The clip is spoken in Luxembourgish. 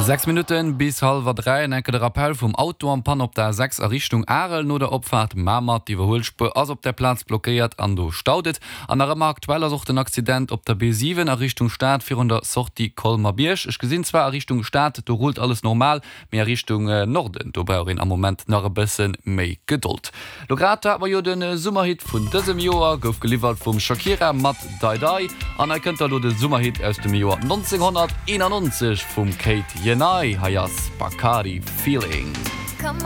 6 Minutten bis hallwer 3, en enke de Rappel vum Auto en panne op der A6 a Richtung Arel no der Opfaart Mamer. D'Iwwerhuelspuer ass op der Plaz blockéiert an do staut et. An nach ëmmer aktuell ass och den Accident op der B7 a Richtung Stad virun der Sortie Colmer-Bierg. Ech gesinn zwar a Richtung Stad, do rullt alles normal, Mee a Richtung Norden, do brauch een am Moment nach e bësse méi Gedold. Lo grad hate mer jo de Summerhit vun dësem Joer, gouf geliwwert vum Shakira mat Dai Dai. An hei kënnt da lo de Summerhit aus dem Joer 1991 vum Kate Yenai, hei ass Bacardi Feeling.